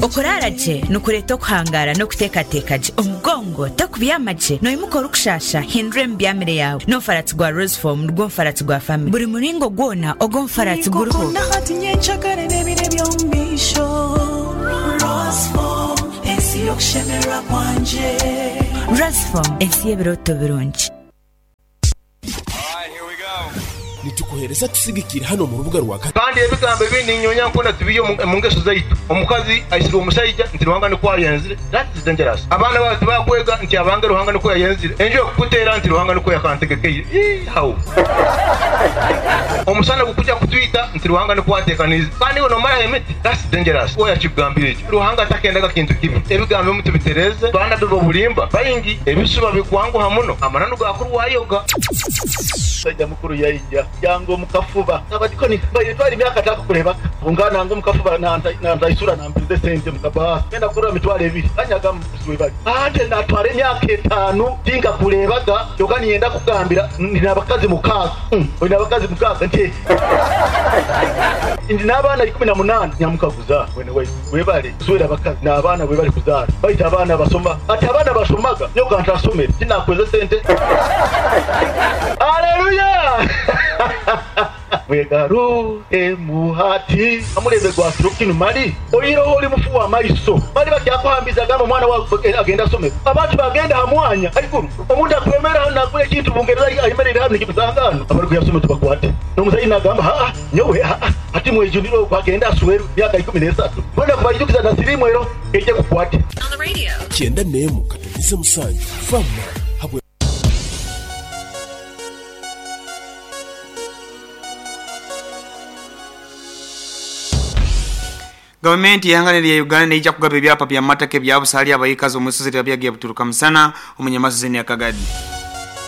Okuraara gye nikureeta okuhangaara n'okuteekateeka gye. Omugongo tokubyama gye, noimuka orikushaasha, hindura emibyamire yaawe. N'omufaratsi gwa Rosefoam nigwo mufaratsi gwa famire. Buri muringo gwona ogw'omufaratsi guriho. Ninkukunda hati, nyencakare n'ebiro eby'omu maisho. Rosefoam, ensi y'okushemererwa kwangye. Rosefoam, ensi y'ebirooto birungi. Nitukuheereza tusigikire hanu omu rubuga rwa. Kandi ebigambo ebindi ninyonya nkona tubiihe omu ngeso zaitu. Omukazi aisirwe omusaija nti Ruhanga nikwo ayenzire, that is dangerous. Abaana baawe tibakwega nti abange Ruhanga nikwo yayenzire. Enju ekukuteera nti Ruhanga nikwo yakantegekeire. Ii how? Omusana gukuja kutwita nti Ruhanga nikwo atekaniize. Kandi iwe nomaraho emiti, that's dangerous. Oha yakikugambire ekyo? Ruhanga takendaga kintu kibi. Ebigambo ebimu tubitereeze. Baanabbi b'obulimba baingi, ebisuba bikwanguha muno, amananu gaakurwayoga. Omusaija mukuru yaija yanga omu kafuba. Abadikoni mbaire ntwara emyaka atakukurebaga. Ngu nanga omu kafuba nantaisura nampiriza esente mu kabaasa. Ngenda kugurira mitwaro ebiri anyaga muguzi webale. Ante natwara emyaka etaanu tinkakurebaga kyoka ninyenda kukugambira ndi nabakazi mukaaga. Oine abakazi mukaaga? Nti ndi n'abaana 18. Nyamukaguza mwene waitu webale kuswera abakazi n'abaana webale kuzaara baitu abaana basoma. Ati abaana bashomaga nyowe ka ntasomere tinakweza esente. Aleluya! Mwegaruhemu hati. Omulembe gwa kiro kinu mali oihireho oli mufu wa maiso. Mali bakyakuhambiza gamba omwana wawe agende asome. Abantu bagenda ha mwanya haiguru. Omuntu akwemerra hanu nagura ekintu Bungereza ayemereire hanu nikimusanga hanu. Abarikuya kusoma tubakwate. N'omuzaire nagamba haa nyowe haa hati mwejunire ogu agende aswerwe myaka 13. Mbwenu akubaijukiza na siriimu ero eije ekukwate. 91 katonyeze musanju Fama habwe. Gavumenti y'eihanga erya Uganda neija kugaba ebyapa by'amataka ebya busa ahali abaikazi omu isozi lya Byagi Buturuka Musana omu Nyamasozi n'eya Kagadi.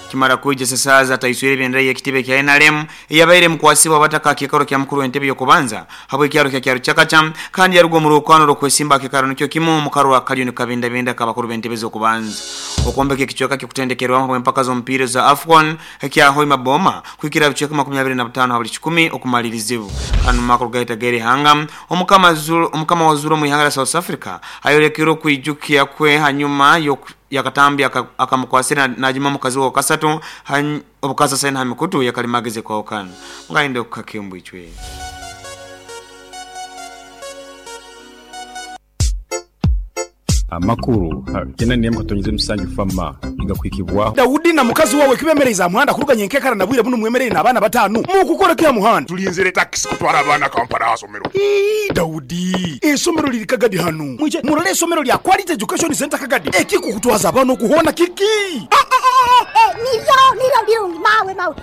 Kimara kwija Sesaaza ataiswire ebendera y'ekitebe ekya nrm eyabaire emukwasibwe abataka aha kiikaro kya mukuru w'entebe y'okubanza habw'ekyaro kya Kyarukyakaca kandi yaruga omu rwokwano rw'okwesimba aha kiikaro nikyo kimu omu karwa kariyo nikabindabinda ak'abakuru b'entebe z'okubanza. Okwombeka ekicweka ky'okutendekerwamu habw'empaka z'omupiira eza AFCON ekya Hoima Boma kuhikira aha bicweka 25 ha buli kikumi okumalirizibwa. Kandi omu makuru gaitu ag'erihanga, Omukama Zulu, Omukama wa Zulu omu ihanga lya South Africa ayolekere okwijukya kwe hanyuma y'akatambi akamukwasire najuma mukazi we owakasatu obukasasaine ha mikutu yakalimagezi ekwahukana. Mugayinde okukaka embwa icwe. Amakuru ha 91 katonyeza musanju FAMA nigakuhikibwaho. Daudi na mukazi wawe kibemereize aha muhanda kuruga nyenkekara na bwire bunu mwemereire n'abaana bataanu? Mukukora ki aha muhanda? Tulinzire takisi kutwara abaana Kampala aha somero. Ii, Daudi, eisomero liri Kagadi hanu. Mwije murole eisomero lya Quality Education Centre Kagadi. Ekikukutwaza abaana oku hoona kiki? Nibyo, nibyo birungi mawe, mawe.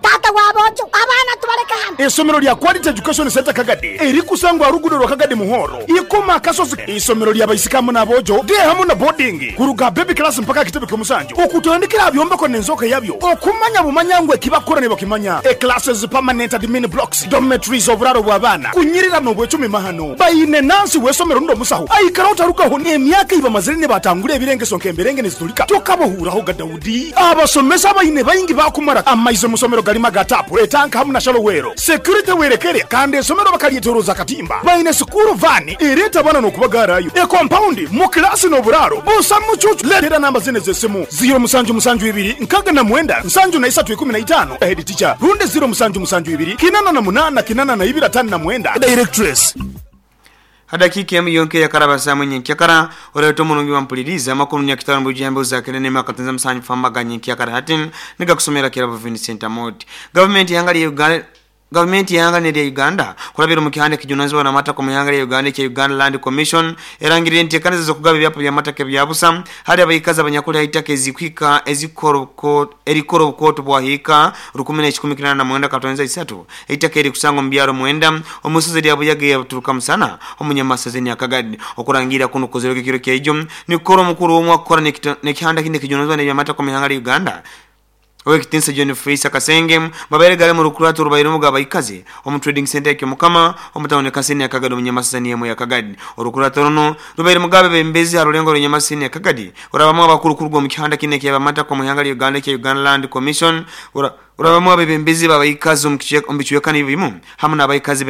Taata wa boojo, abaana tubaleke hanu. Eisomero lya Quality Education Centre Kagadi erikusangwa aha ruguudo rwa Kagadi Muhoro, Ikoma Akasozi. Eisomero lya baisiki hamu n'aboojo, day hamu na boarding, kuruga aha baby class mpaka aha kitebe ky'omusanju, okutandikira aha byombeko n'enzooka yabyo, okumanya bumanya ngu eki bakukora nibakimanya. E Classes, permanent admin blocks, dormitories, oburaaro bw'abaana, kunyirira n'obwecumi mahano. Baine nansi w'eisomero rundi omusaho aikaraho tarugaho n'emyaka ei bamazire nibatangura ebirengeso nk'emberenge nizitulika. Tokabahuurahoga Daudi. Abasomesa abaine baingi baakumara amaizi omu somero garimu aga taapu, etanka hamu na shalowero. Security werekere kandi esomero bakaryetoroza akatimba. Baine sikuuru vaani ereeta abaana n'okubagaarayo. Ekompaundi, mu kilaasi n'oburaaro busa mucuucu. Leetera namba zinu ez'esimu, ziiro musanju musanju ibiri nkaaga na mwenda nsanju na isatu ikumi na itaano, Head teacher, rundi ziiro musanju musanju ibiri kinana na munaana kinana na ibiri ataano na mwenda, Directress. Ha dakiika emu yonka eyakaraba saaha imwe nyenkyakara, oreeta omurungi wampuliriize amakuru nyakitara omu bwijwire embeho za kenda n'emu akatenza musanju famba ga nyenkyakara hati nigakusomera Kirabo Vincent Amooti. Gavumenti y'ihanga lya Uganda Gavumenti y'ihanga n'erya Uganda kurabira omu kihanda ekijunanizibwa n'amataka omu ihanga lya Uganda ekya Uganda Land Commission erangirire enteekaniza z'okugaba ebyapa by'amataka ebya busa hali abaikazi abanyakuli ha itaka ezikuhika ezikukora erikukora obukooto bwa hiika rukumi n'ekikumi kinaana na mwenda katonza isatu Eitaka erikusangwa omu byaro mwenda omu isozi rya Buyaga eya Buturuka Musana omu Nyamasezi ni Akagadi. Okurangiirira kunu kukozirwege ekiro kyaijo nikukora omukuru omwe akukora n'ekihanda kindi ekijunanizibwa n'ebyamataka omu ihanga lya Uganda Owekitinisa John Feisa Kasenge babaire gari omu rukurato orubairemu g'abaikazi omu Trading Centre ya Kyomukama omu tawuni Kaseni ya Kagadi omu Nyamasezi emu ya Kagadi. Orukurato runu rubairemu g'abebembezi aha rurengo rwa Nyamasezi ya Kagadi orabamu abakuru kuruga omu kihanda kinu eky'ebyamataka omu ihanga lya Uganda ekya Uganda Land Commission ora Orabamu abebembezi b'abaikazi omu bicweka nibyo bimu hamu n'abaikazi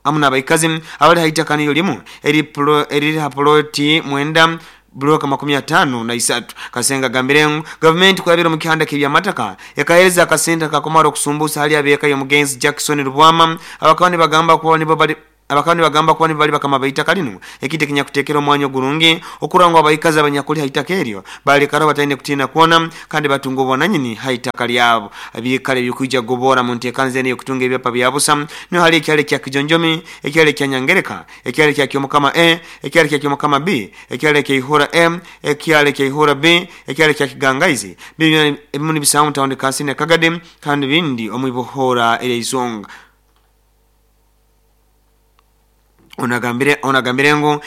hamu n'abaikazi abali ha itaka niryo limu eriri ha poloti 9 bloka 53. Kasenga agambire ngu gavumenti kurabira omu kihanda ky'ebyamataka ekahereza akasente kakumara okusumbusa hali abeeka y'omugenzi Jackson Rubwama abakaba nibagamba kuba nibo bali abakaba nibagamba kuba nibo bali bakama b'eitaka linu, ekintu ekinyakuteekera omwanya ogurungi okurora ngu abaikazi abanyakuli ha itaka eryo balekaraho bataine kutiina kwona kandi batunga obwananyini ha itaka lyabo. Ebiikaro ebikwija kugobora mu nteekaniza enu ey'okutunga ebyapa bya busa niho hali ekyaro ekya Kijonjomi, ekyaro ekya Nyangereka, ekyaro ekya Kyomukama A, ekyaro ekya Kyomukama B, ekyaro ekya Ihura M, ekyaro ekya Ihura B, ekyaro ekya Kigangaizi. Bino ebimu nibisangwa mu tawuni kansini ya Kagadi kandi bindi omu Ibohora erya Izonga. Onagambire ngu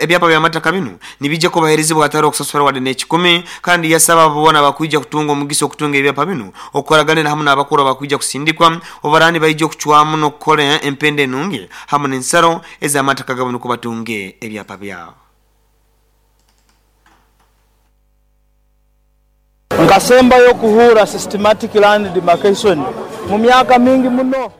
ebyapa by'amataka binu nibijja kubaherezibwa hatari okusasura wadde n'ekikumi, kandi yasaba abo boona bakwija kutunga omugisa okutunga ebyapa binu okukoraganira hamu n'abakuru abakwija kusindikwa obarani baija okucwamu n'okukora empenda enungi hamu n'ensaro ez'amataka gabo nukwo batunge ebyapa byabo. Nkasembayo okuhuura systematic land demarcation mu myaka mingi muno.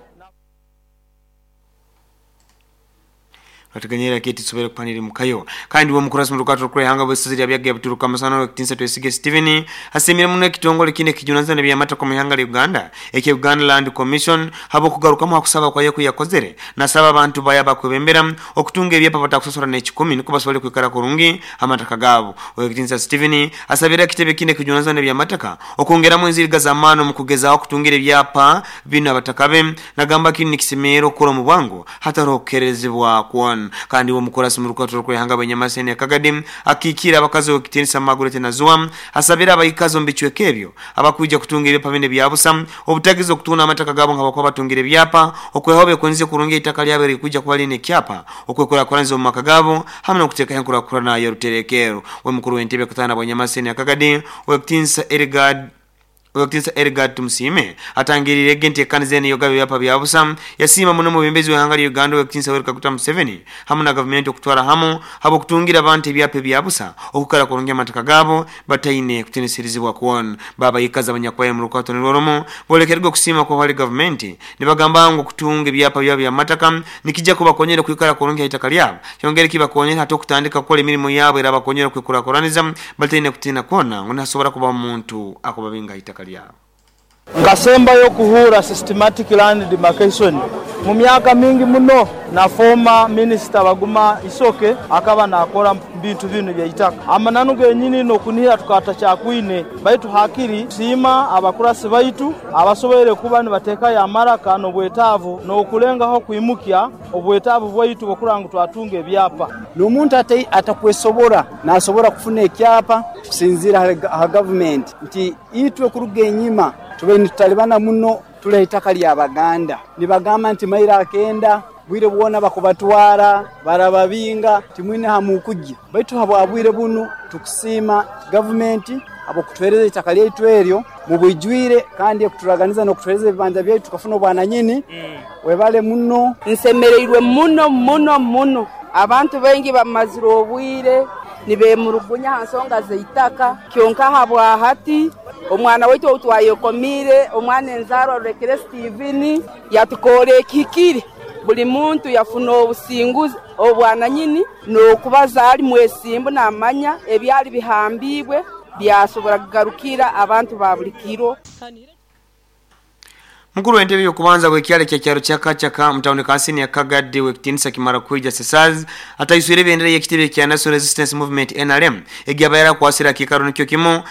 Bateganyira kiti tusobole kupanira mukayo. Kandi wo mukurasi mu rukato rw'ihanga bw'esaza lya Byagga Buturuka Musana w'ekitinsa Twesige Steven asimire muno ekitongole kine kijunanizibwa n'ebyamataka mu ihanga lya Uganda ekya Uganda Land Commission habo kugarukamu hakusaba kwa yeku yakozere nasaba abantu baya bakwebembera okutunga ebyapa batakusasura n'ekikumi niko basobole kwikara kurungi amataka gabo. W'ekitinsa Steven asabira ekitebe kine kijunanizibwa n'ebyamataka okwongeramu enziriga z'amaani mu kugezaho okutungira ebyapa bino abataka be, nagamba kini nikisemera okukora mu bwangu hatariho okukerezibwa kwona. Kandi wo mukurasi mu rukato rw'ihanga bw'Enyamaseni ya Kagadi akikira abakazi w'ekitinisa Margaret Nazua asabira abaikazi omu bicweka ebyo abakwija kutunga ebyapa bine bya busa obutagiza okutunda amataka gabo nga bakuba batungira ebyapa okweho bekunze kurungi itaka lyabo erikwija kuba line ekyapa okwekurakuranza omu maka gabo hamwe n'okuteekaho enkurakurana y'oruterekero. We mukuru w'entebe katana bw'Enyamaseni ya Kagadi w'ekitinisa Edgard Edgard Tumusiime atangirire enteekaniza eno ey'okugaba ebyapa bya busa yasiima muno omwebembezi w'ihanga lya Uganda ow'ekitinisa Yoweri Kaguta Museveni hamu na gavumenti okutwara hamu habw'okutungira abantu ebyapa ebya busa okukara kurungi amataka gaabo bataine kutinisirizibwa kwona. Babayikazi abanyakubaire mu rukato nirwo rumu bolekerwe okusiima kwa hali gavumenti nibagamba ngu okutunga ebyapa byabo by'amataka nikijja kubakonyera kwikara kurungi ha itaka lyabo kyongere kibakonyera hati okutandika kukora emirimu yabo era bakonyera kwekurakuraniza bataine kutiina kwona ngu nasobora kuba omuntu akubabinga ha itaka lyabo. Nkasembayo okuhuura systematic land demarcation mu myaka mingi muno na former minister Baguma Isoke akaba nakora bintu binu byaitaka. Amananu genyini n'okunihira tukatachakwine baitu hakiri siima abakurasi baitu abasoboire kuba nibateekayo amaraka n'obwetaavu n'okulengaho kwimukya obwetaavu bwaitu bw'okurora ngu twatunga ebyapa. N'omuntu atakwesobora nasobora kufuna ekyapa kusinziira ha gavumenti nti itwe kuruga enyima tubaire nitutalibana muno tuli itaka lya Baganda. Nibagamba nti mairo akenda bwire bwona bakubatwara barababinga timwine hamukujja, baitu habwa bwire bunu tukusiima gavumenti habw'okutuhereza itaka lyaitu eryo mu bwijwire kandi ekuturaganiza n'okutuhereza ebibanja byaitu tukafuna obwananyini. Webale muno. Nsemereirwe muno muno muno. Abantu baingi bamazire obwire nibemurugunya ha nsonga z'eitaka kyonka habwa hati omwana waitu ou twayekomiire omwana enzarwa Rurekere Steven yatukoora ekihikire, buli muntu yafuna obusinguzi obwananyini n'okubaza ali mwesimbu namanya ebyali bihambibwe byasobora kugarukira abantu ba buli kiro. Mukuru w'entebe y'okubanza bw'ekyalo kya kyaro kya Kachaka mu tawuni kansini ya Kagadi w'ekitinisa Kimara Kwija Sesaz ataiswire ebendera y'ekitebe kya National Resistance Movement NRM egyabaire akwasira akiikaro nikyo kimu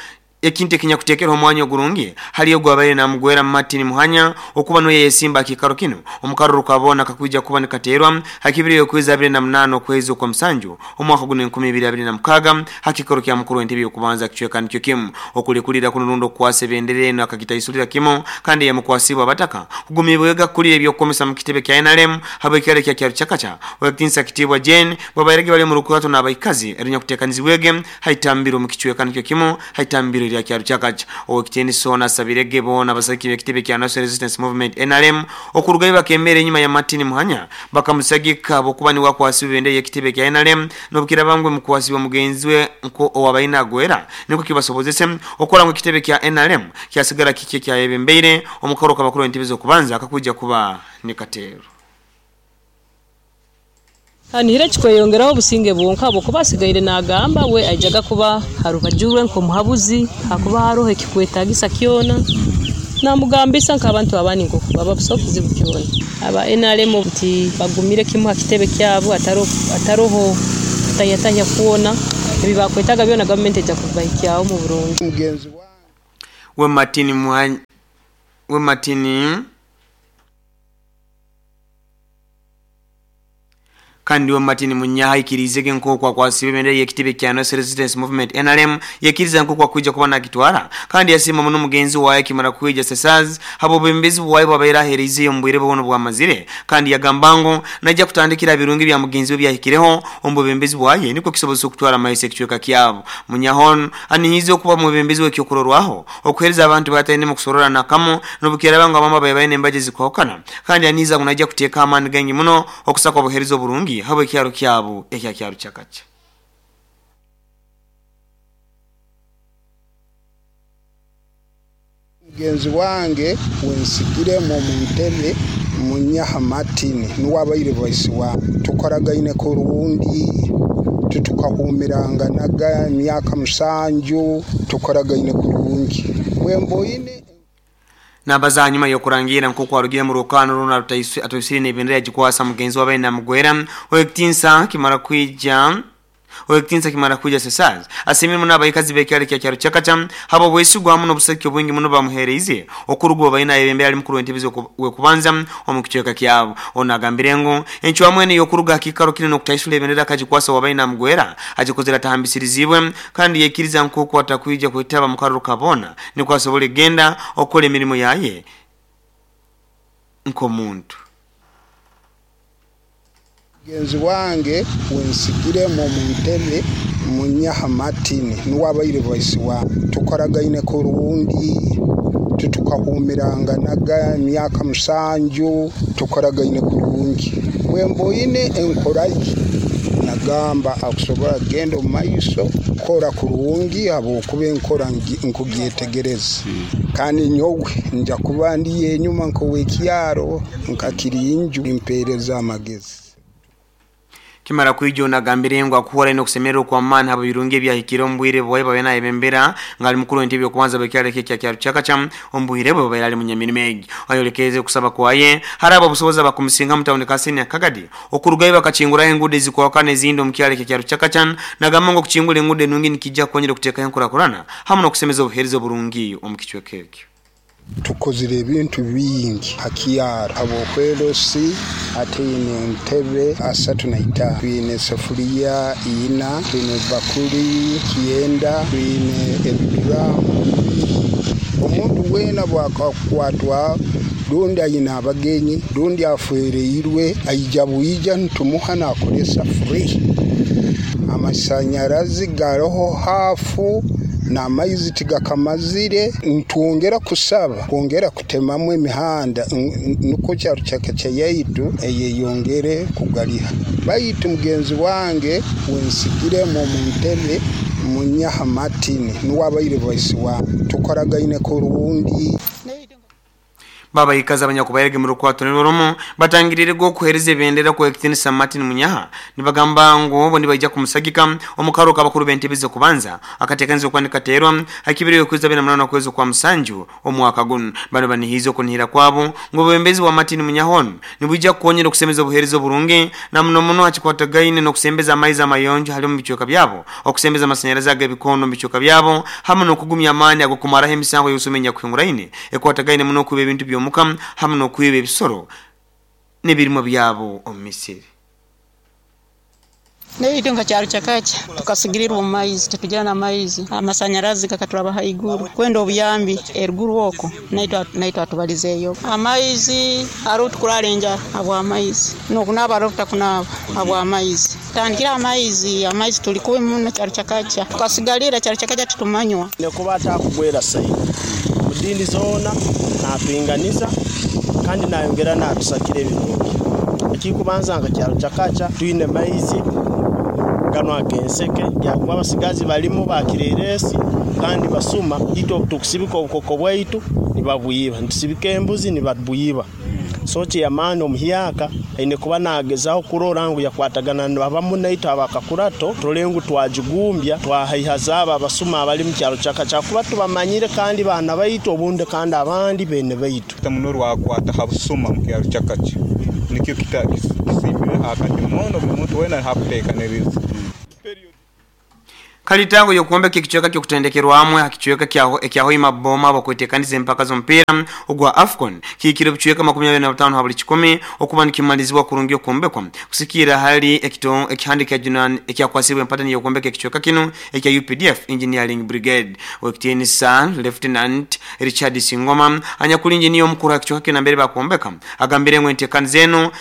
ekintu ekinyakuteekerwa omwanya ogurungi hali ogwabaire namugwera Martin Muhanya okuba niwe yesimba akiikaro kino omukaruru kabona kakwija kuba nikateerwa hakibiri y'okwezi 28 okwezi okwa musanju omwaka guno 2026 hakikaro kya mukuru w'entebe y'okubanza kicweka nikyo kimu okulikulira kuno rundi okukwasa ebendera eno akagitaisulira kimu kandi yamukwasibwa abataka kugumibwega kukulira ebyokukomesa mu kitebe kya NRM habw'ekyalo kya kyaro Chakacha w'ekitinisa Kitiibwa Jane bwabairege bali mu rukurato n'abaikazi erinyakuteekanizibwege haitambiro mu kicweka nikyo kimu haitambiro lya kyaro Chakacha. Ow'ekitiinisa ono asabirege boona abasajja b'ekitebe kya National Resistance Movement NRM okurugayo bakemera enyuma ya Martin Muhanya bakamusagika habwokuba niwe akwasibwa ebendera y'ekitebe kya NRM n'obukira bangwe mukwasibwa mugenzi we nko owabaine agwera niko kibasobozese okukora ngu ekitebe kya NRM kyasigara kiki ekyayebembeire omukaro kabakuru w'entebe z'okubanza akakwija kuba nikateero. Anihire kikweyongeraho obusinge bwonka habwokuba asigaire nagamba we aijaga kuba harubaju rwe nk'omuhabuzi, hakuba haroho ekikwetagisa kyona namugambisa nk'abantu abandi nk'oku baba busaho kizibu kyona. Aba NRM nti bagumire kimu ha kitebe kyabo, ataroho kutahya kwona, ebi bakwetaga byona gavumenti ejja kubahikyaho mu burungi. We Martin we Martin kandi we Martin Munyaha ikirizege nk'oku akwasibe ebendera y'ekitebe kya National Resistance Movement NRM, yakiriza nk'oku akwija kuba nakitwara, kandi yasiima muno mugenzi waye kimara kwija Sesaz habo bwembezi bwaye bwabaire ahereizeyo omu bwire bwono bwamazire, kandi yagamba ngu najja kutandikira birungi bya mugenzi we byahikireho omu bwembezi bwaye niko kisobozesa okutwara amaiso ekicweka kyabo. Munyahon anihize okuba mu bwembezi w'ekyokurorwaho okuhereza abantu bataine mu kusorora nakamo n'obukiraba ngo abamwe babaye embaje zikwahukana, kandi anihiza ngu najja kuteeka amaani gangi muno okusaka obuhereza oburungi habo ekyaro kyabo ekya kyaro kyakacha. Mugenzi wange wensigiremu omu ntebe Munyaha Martin nuwe abaire vice wange, tukoragaine kurungi, tutukahumiranganaga emyaka 7, tukoragaine kurungi bwemboine. Nabaza hanyuma yokurangira nk'oku arugire mu rukano runa atoisire n'ebendera yagikwasa mugenzi wabaye namugwera owekitinsa kimara kwija owekitinsa kimara kwija Sesaz asimire muno abayikazi b'ekyaro kya kyaro kyakacha habo bwesigwa muno obuseke obwingi muno bamuhereize okuruga baina ebembera ali mukuru w'entebe wekubanza omu kicweka kyabo. Ono agambire ngu encwamu eno y'okuruga kikaro kino n'okutaisula ebendera akagikwasa wabaye namugwera agikozera atahambisirizibwe, kandi yekiriza nk'oku atakwija kwetaba mu karuru kabona niko asobole genda okukora emirimo yaye nk'omuntu. Mugenzi wange wensigiremu omu ntebe Munyaha Martin nuwe abaire vice wange, tukoragaine kurungi, tutukahumiranganaga emyaka 7, tukoragaine kurungi bwemboine enkoraye nagamba akusobora kugenda omu maiso kora kurungi habwokuba enkora nkugyetegereza, kandi nyowe nja kuba ndi enyuma nk'owekyaro nkakirinju impereza amagezi. Kimara kwijo nagambire ngu akuhora ino kusemererwa kwa maani habo birungi ebyahikire omu bwire bwaye babe nayebembera ngali mukuru w'entebe yokubanza b'ekyaro kya kyaro kyakacha omu bwire bwe babaire ali munyamirimo egi. Ayolekeze okusaba kwaye hari abo obusobozi bakumusinga mu tawuni Kasini ya Kagadi okurugayo bakakinguraho enguudo ezikwahukana ezindi omu kyaro kya kyaro kyakacha, nagamba ngu okukingura enguudo enungi nikijja kukonyera okuteekaho enkurakurana hamu n'okusemeza obuheereza oburungi omu kicweka ekyo. Tukozire ebintu bingi hakyaro habwokwerosi ate ine entebe 35, twine sefuliya 4, twine bakuli 9, twine ebiduramu 2. Omuntu weena bwakakwatwa rundi ayina abagenyi rundi afwereirwe aija bwija ntumuha nakolesa free. Amasanyarazi garoho hafu n'amaizi tigakamazire, ntwongera kusaba kwongera kutemamu emihanda nukwo kyaro kyakacha yaitu eyeyongere kugaliha. Baitu mugenzi wange wensigiremu omu ntebe Munyaha Martin nuwe abaire vice wange, tukoragaine kurungi. Baba ikaza abanyakubairege mu rukwato niroromo batangirire go kuhereza ebendera ku ekitinisa Martin Munyaha nibagamba ngu bo nibaija kumusagika omukaro kabakuru b'entebe kubanza akatekanzo kwandika terwa hakibiri kweza 28 kwezi kwa musanju omwaka guno. Bano banihizo kunihira kwabo ngo bwembezi wa Martin Munyahon nibwija kukonyera okusemeza obuhereza oburungi na muno muno hakikwatagaine n'okusembeza amaizi amayonjo hali mu bicweka byabo, okusembeza amasanyarazi ag'ebikondo mu bicweka byabo hamwe n'okugumya amaani agokumaraho emisango y'osomenya kuhinguraine ekwatagaine muno okuba ebintu by'omuka hamwe n'okwiba ebisoro n'ebirimo byabo omu misiri. Neitu nka kyaro kyakacha tukasigirirwa omu maizi, tetugira n'amaizi, amasanyarazi gakaturaba haiguru kwenda obuyambi eruguru oko naitwe atubalizeeyo amaizi hariho tukurara enjara habw'amaizi n'okunaaba hariho tutakunaaba habw'amaizi tandikira amaizi tuli kubi muno kyaro kyakacha tukasigalira kyaro kyakacha tutumanywa nekuba atakugwera saidi mudini zoona natuinganiza kandi nayongera natusakira ebirungi. Ekikubanza nka kyaro kyakacha twine maizi gano agenseke yakuba abasigazi balimu bakireresi kandi basuma ito tukusibika obukoko bwaitu nibabwiba, ntusibika embuzi nibabwiba. So chairman omuhyaka aine kuba nagezaho kurora ngu yakwatagana abamu naitwe abakakurato turole ngu twagigumbya twahaihaza abo abasuma abali mu kyaro kyakaca kuba tubamanyire kandi baana baitu obundi kandi abandi bene baitu. Muno rwakwata ha busuma mu kyaro kyakaca nikyo kisimbire akati muno buli muntu wena hakuteekaniriza. Kalitango yokuombeka ekichweka kyokutendekerwamwe hakichweka kya Hoima Boma bakwetekaniza empaka z'omupiira ogwa AFCON kikiro bichweka 25 ha buli 10 okuba nikimalizibwa kurungi okuombekwa kusikira hali ekihandika junan ekyakwasibwa empatani yokuombeka ekichweka kino ekya UPDF Engineering Brigade wekitiinisa Lieutenant Richard Singoma anyakuli engineer omukuru hakichweka kino mbere bakuombeka agambire ngo entekaniza eno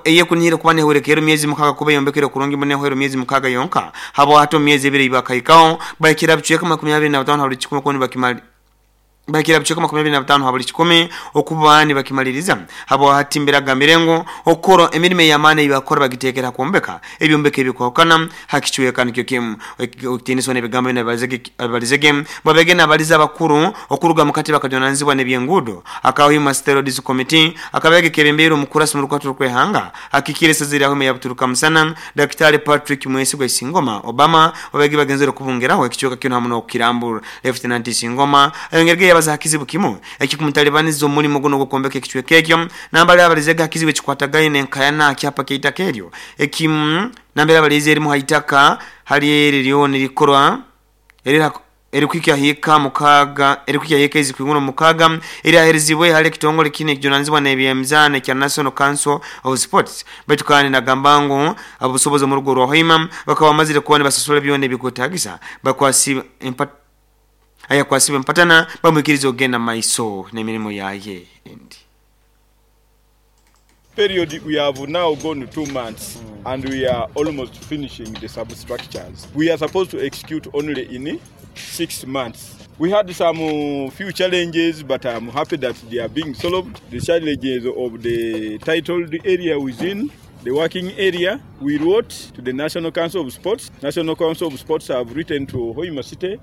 eyekunihira kuba nehurekero myezi 6 kuba yombekere kurungi munehwero myezi 6 yonka habo hato myezi 2 ibaka ikao bakira bichweka 25 ha buli 10 koni bakimali bakira bichweka 25 ha buli 10 okuba ni bakimaliriza habo hatimbira gamirengo okoro emirime ya maana ibakora bagitekera kuombeka ebyombeka ebikwakana hakichweka nikyo kimu okutiniswa nebigambo nabalizege babege nabaliza bakuru okuruga mukati bakajonanzibwa nebyengudo akaho Steroids Committee akabege kebembero mukurasi mu rukwatu rwehanga akikire sazira aho yabuturuka musana Dr. Patrick Mwesigwa Isingoma Obama babege bagenzero kubungeraho ekichweka kino hamuno okirambura. Lieutenant Isingoma ayongerege yabaza hakizibu kimu ekikumutalibaniza omulimo guno gokombeka ekichweka ekyo nambale abalizega hakizibu ekikwatagaine enkayana akyapa keitaka eryo ekimu nambere abalize erimu haitaka hali eryo nirikorwa erikwikya hika mukaga erikwikya hika izikwinguno mukaga eri aherizibwe hali ekitongole kine ekijunanizibwa n'ebyemizano kya National Council of Sports baitu kandi nagamba ngu abusobozi mu rugo rwa Hoima bakaba bamazire kuba nibasasula byona ebikwetagisa bakwasi ayakwasibe mpatana bamwikiriza ogenda maiso n'emirimo yaye endi. Period we have now gone 2 months and we are almost finishing the substructures. We are supposed to execute only in 6 months. We had some few challenges, but I'm happy that they are being solved. The challenges of the titled area within the working area, we wrote to the National Council of Sports. National Council of Sports have written to Hoima City,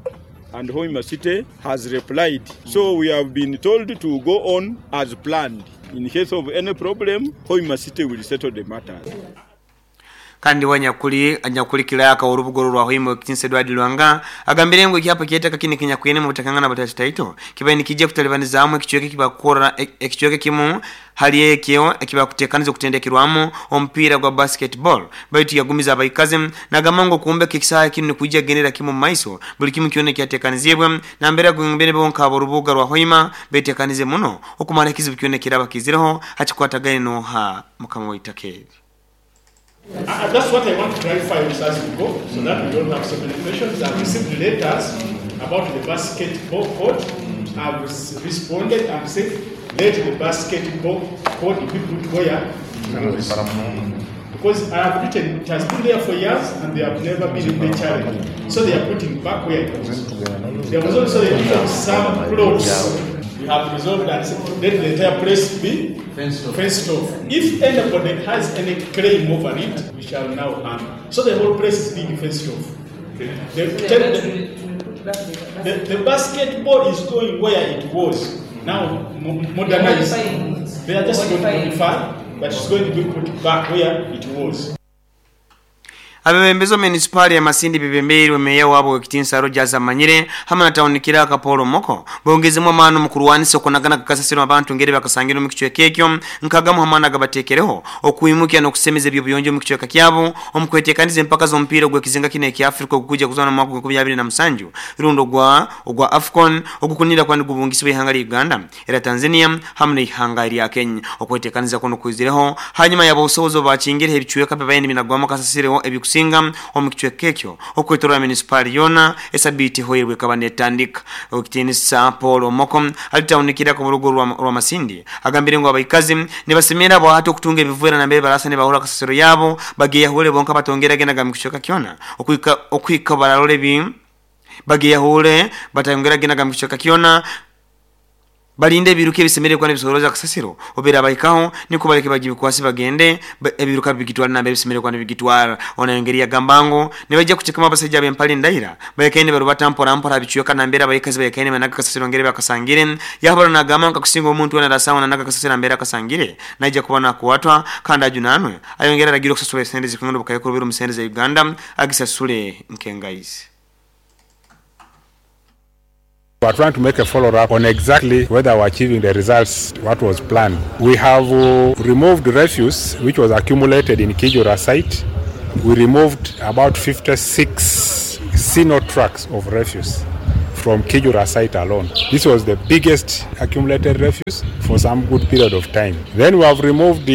and Hoima City has replied. So we have been told to go on as planned. In case of any problem, Hoima City will settle the matter. Kandi wanyakuli kilaka urubugoro rwa Hoima Kinse Edward Lwanga agambire ngo ikyapa kyetaka kini kinyakwene mu butakangana batataito kibaye nikijja kutalibaniza ekichweke kibakora ekichweke kimu hali ekyo ekibakutekaniza okutendekerwamu omupiira gwa basketball baitu yagumiza abaikaze nagamango kumbeka ekisaha kinu kujja genera kimu maiso buli kimu kyone kyatekanizibwe nambera gwembere bonka aborubuga rwa Hoima betekanize muno okumara ekizibu kyone kiraba kizireho hakikwatagaine noha mukama waitakeri. That's what I want to clarify as we go, so that we don't have so many questions. I've received letters about the basketball court. I've responded and said, let the basketball court be put where it was. Because I have written, it has been there for years and they have never been in the challenge. So they are putting back where it was. There was also the issue of some plots. We have resolved and said, let the entire place be fenced off. If anybody has any claim over it, we shall now handle. So the whole place is being fenced off. The basketball is going where it was. Now modernized. They are just going to modify, but it's going to be put back where it was. Abebembezo municipal ya Masindi bibembeirwe meya wabo wekitinsa Rogers Amanyire hamwe na tawunikira Kapolo Moko bongezemu amano mukurwanisa okunagana kakasasiro abantu ngeri bakasangira mu kichweka ekyo nkagamu hamana gabatekereho okuimukya n'okusemeza ebyobuyonjo mu kichweka kyabo omukwetekaniza empaka z'omupiira ogw'ekizinga kino ekya Afrika ogukujja kuzana mu mwaka 2027 rundo ogwa AFCON ogukunira kwandi gubungisibwa ihanga lya Uganda era Tanzania hamwe n'ihanga lya Kenya okwetekaniza kuno kuzireho hanyuma y'abosobozo bakingire ebichweka bibaye binagwamo kasasiro ebikusinga omukichweka ekyo okwetorora municipal yona esabiti hoirwe kabanetandika okitinisa Paul Omoko alitawunikira ku rugo rwa Masindi agambire ngo abaikazi nibasemera bo hato okutunga ebivera nambere barasa ne bahura kasasiro yabo bagiye hule bonka batongera genaga mukichweka kyona okwika baralole bi bagiye hule batongera genaga mukichweka kyona Balinde ebiruka ebisemerere kuba nibisorooza kasasiro obeera bahikaho niko baleke bagibikwasi bagende ebiruka bigitwara nambere bisemerere kuba nibigitwara. Ona engeri yagamba ngu nibajja kucekemu abasajja ab'empale ndaira bayekaine barubata mpora mpora bicweka nambere abayikazi bayekaine banaga kasasiro ngeri bakasangire. Yahabara nagamba nka kusinga omuntu wena arasawa nanaga kasasiro nambere akasangire naija kuba nakuwatwa kandi ajunanwe. Ayongera aragira okusasula esente zikungana bukayekuru biru mu sente za Uganda agisasule nkengaizi. We are trying to make a follow-up on exactly whether we are achieving the results what was planned. We have removed refuse which was accumulated in Kijura site. We removed about 56 Sino trucks of refuse from Kijura site alone. This was the biggest accumulated refuse for some good period of time. Then we have removed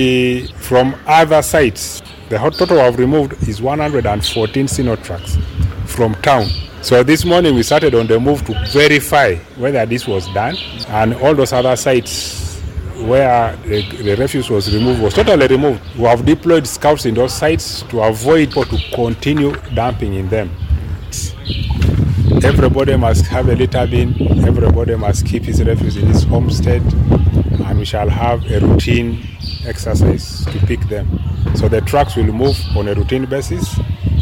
from other sites. The total we have removed is 114 Sino trucks from town. So this morning we started on the move to verify whether this was done, and all those other sites where the refuse was removed was totally removed. We have deployed scouts in those sites to avoid or to continue dumping in them. Everybody must have a litter bin, everybody must keep his refuse in his homestead, and we shall have a routine exercise to pick them. So the trucks will move on a routine basis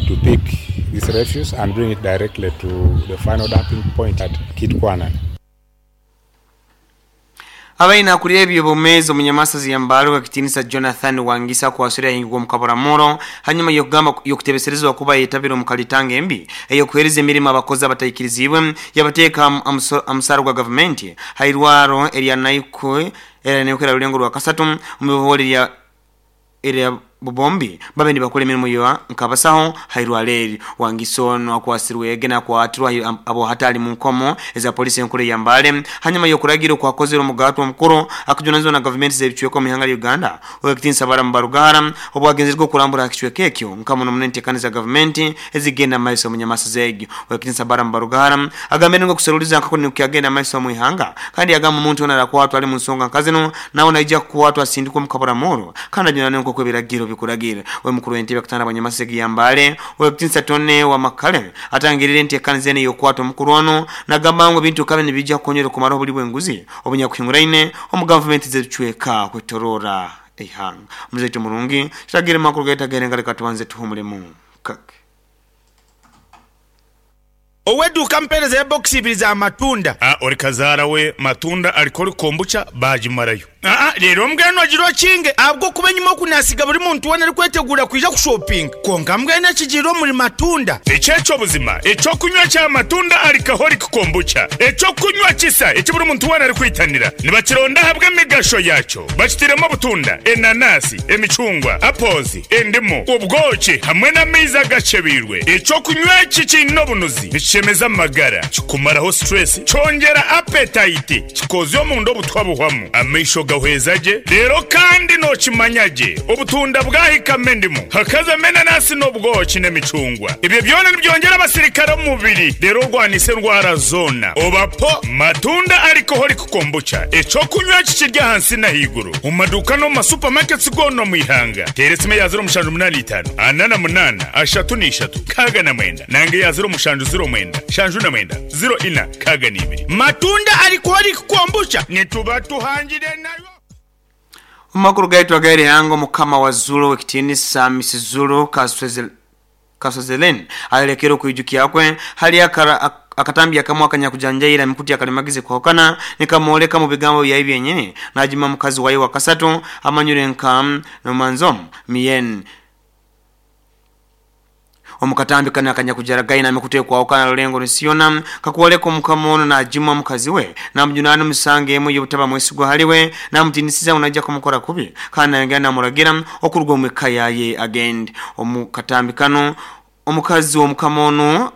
to pick this refuse and bring it directly to the final dumping point at Kitkwanan. Abaina akulira ebyobumezi omunyamasazi yambalo wakitinisa Jonathan Wangisa kwasura hingwa mukaburamuro hanyuma yokugamba yokutebeserezwa kuba yetabira omukalitanga embi eyokuhereza emirimo abakozi abataikirizibwe yabateeka amusaro gwa government hairwaro erya naiko era nekera rulengo rwa kasatu omubibuhori ya erya bubombi babe nibakole emirimu yo nkabasaho hairwaleri Wangisono akwasirwe egena kwatirwa abo hatali mu nkomo eza polisi enkuru ya Mbale hanyuma yokuragira kwakozera omugato omukuru akujunanizwa na government z'ebicweka mu ihanga lya Uganda owekitinsa bara mbarugara obwagenzerwa okurambura akicweka ekyo nkamuno munene za government ezigenda maiso munyamasa zegi. Owekitinsa bara mbarugara agambye ngo kuseruliza nkako nikyagenda maiso mu ihanga kandi yagamba omuntu ona rakwatwa ali mu nsonga nkazino nawo naija kukwatwa asindikwa mukabura muro kandi ajunanwe nkoko ebiragiro bikuragira. We mukuru w'entebe akutana abanyamasegi ya Mbale owekitinsa Tone wa Makale atangirire enteekaniza yokwata omukuru ono nagamba ngo bintu kabe nibijja kukonyera okumaraho obuli bw'enguzi obunyakuhinguraine omu gavumenti z'ebicweka kwetorora eihanga. Omuzaitu murungi kitagire makuru gaitagere ngaleka tubanze tuhumulemu kake. Oweduka mpereza ya box ibiri za matunda. Ori kazara we matunda alikori kombucha bajimarayo. Rero mbweno agiro kinge abwo kubenyuma kunasiga buri muntu wona ari kwetegura kwija kushopping. Konka mbwene kigiro muri matunda. Echecho buzima, echo kunywa cha matunda alikahori kombucha. Echo kunywa kisa eki buri muntu wona ari kwitanira. Nibakironda habwe migasho yacho. Bakitiremo butunda, enanasi, emicungwa, apples, endimu, ubwoki hamwe n'amaizi agacebirwe. Echo kunywa iki kinobunuzi. Chemeza magara kikumaraho stress chongera appetite kikozyo mundo butwabuhwamu amaisho gahwezaje rero kandi no kimanyaje obutunda bwahika mendimu hakaza menanasi n'obwoki n'emicungwa ibyo byona nibyongera abasirikare mu mubiri rero rwanise ndwara zona obapo matunda alcoholic kombucha eco kunywa kikirya hansi na higuru mu maduka no mu supermarkets gono mu ihanga teresime ya 085 48 33 69 nange ya 0 09 shanju na mwenda 04 kaganibiri matunda alcoholic kombucha nituba tuhangire nayo. Umakuru gaitu agari hango mukama wa Zulu wekitinisa Mrs Zulu Kaswezelen alekero kuijukia kwe hali akara akatambi akamwa kanyakujanjaira mikuti akalimagize kuhokana nikamoleka mu bigambo ya ibi yenyene najima mukazi wayi wakasatu amanyure nka nomanzom mien omukatambi kana kanyakujaragaina amikute kwa okana lulengo nsiona kakuoleko mukamono na jimwa mukazi we na mjunano musange emu yobutaba mwesigwa haliwe na mtinisiza unajja kumukora kubi kana yangana muragira okurugwa mwekaya ye agend omukatambi kano omukazi omukamono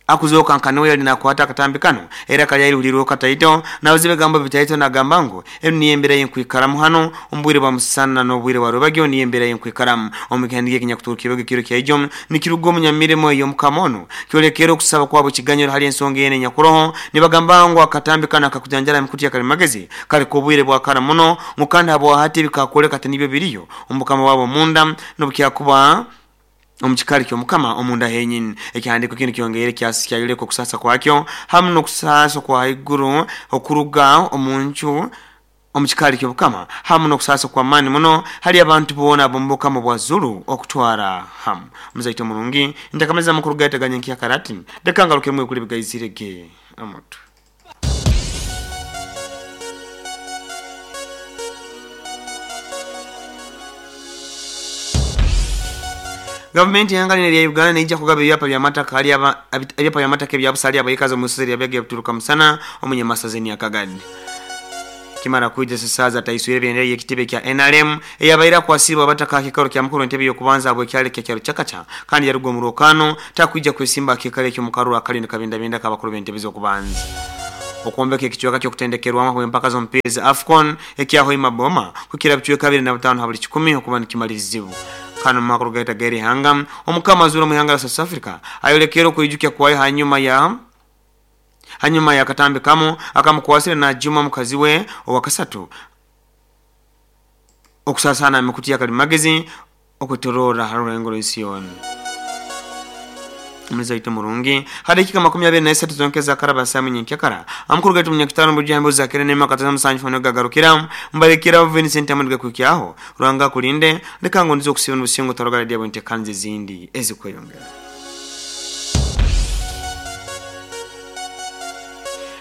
akuzoka nkanoya linakwata katambi kano era kayali uliro kataito na wazibe gamba bitaito na gambango enu niyembera yenkuikaramu hano ombwire ba musana no bwire wa rubagyo niyembera yenkuikaramu omukandike kinyakuturukiwe kiro kya nikirugo munyamiremo yo mukamono kyolekero kusaba kwabo kiganyiro hali ensonga yene nyakuroho nibagambango akatambi kana akakujanjala mikuti ya kalimagezi kali kubwire bwa kara muno mukanda abo hati bikakoleka tinibyo biriyo omukama wabo munda nobukyakuba Omukikari ky'omukama omunda henyini ekihandiko kinu kyongeire kyayoleka okusasa kwakyo hamu n'okusasa kwa haiguru okuruga omunju omukikari ky'obukama hamu n'okusasa kw'amaani muno hali abantu boona ab'omubukama bwa Zulu okutwara hamu. Omuzaito murungi ntakamaliza amakuru gaitaganya nkyakarati leka ngarukemu ekuli bigaizirege omutwe. Gavumenti y'ihanga lino erya Uganda neija kugaba ebyapa by'amataka hali ebyapa by'amataka ebya busa hali abaikazi omu isozi erya Byage Butuluka Musana omunyamasaza Nyakagadi. Kimara kwija Sesaaza ataiswire ebendera y'ekitebe kya NRM eyabaire akwasibwa abataka aha kikaro kya mukuru w'entebe y'okubanza habw'ekyaro kya kyaro Kyakaca kandi yaruga omu rwokano takwija kwesimba aha kiikaro ekyo omu karuru akali nikabindabinda ak'abakuru b'entebe z'okubanza. Okwombeka ekicweka ky'okutendekerwamu habw'empaka z'omupiira za AFCON ekya Hoima Boma kukira bicweka 25 ha buli 100 okuba nikimalirizibwa. Kandi omu makuru gaita g'erihanga, omukama azura omu ihanga lya South Africa ayolekere okwijukya kwayo hanyuma ya katambi kamu akamukwasire najuma mukazi we owakasatu okusasana emikutu ya kalimagezi okwetorora ha rurengo rw'ensi yoona. Omuzaito murungi hadakika 23 zonke zakaraba samu nyenkyakara amakuru gaitu munyakitano bujambo zakere nema kataza musanju fano gagarukira mbalekera Vincent Amadiga kukyaho Rwanga kulinde leka ngo ndizo kusiba n'obusingo tarogala dia bwente kanze zindi ezikweyongera.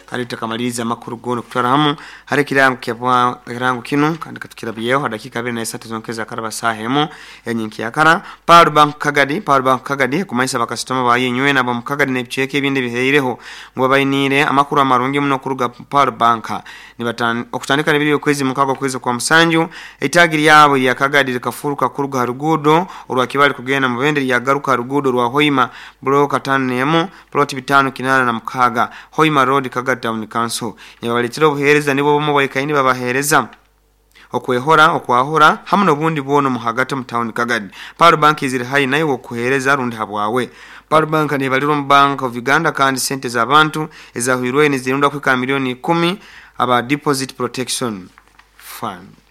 Kandi tukamaliriza amakuru gono kutwara hamu hari ekirango kyabwa ekirango kinu kandi katukirabyeho hadakika 23 zonke zakaraba saha emu enyenkyakara Power Bank Kagadi Power Bank Kagadi kumanyisa bakasitoma bayinywe nabo mu Kagadi n'ebicweka ebindi biheireho ngo babainire amakuru amarungi muno kuruga Power Bank okutandika n'ebiri okwezi mukago kwezi kwa musanju itagi lyabo lya Kagadi likafuruka kuruga harugudo olwa kibali kugenda mu bende lyagaruka rugudo rwa Hoima block 51 plot 586 Hoima Road Kagadi Town Council. Nibabaletera obuhereza nibo bomu baikaini babahereza okwehora okwahura hamu n'obundi bwono mu hagati mu town Kagadi. Power Bank iziri hayi nayo okuhereza rundi habwawe. Power Bank nibalirwa mu Bank of Uganda kandi sente z'abantu ezahwirwe nizirunda kwika milioni 10 aba Deposit Protection Fund.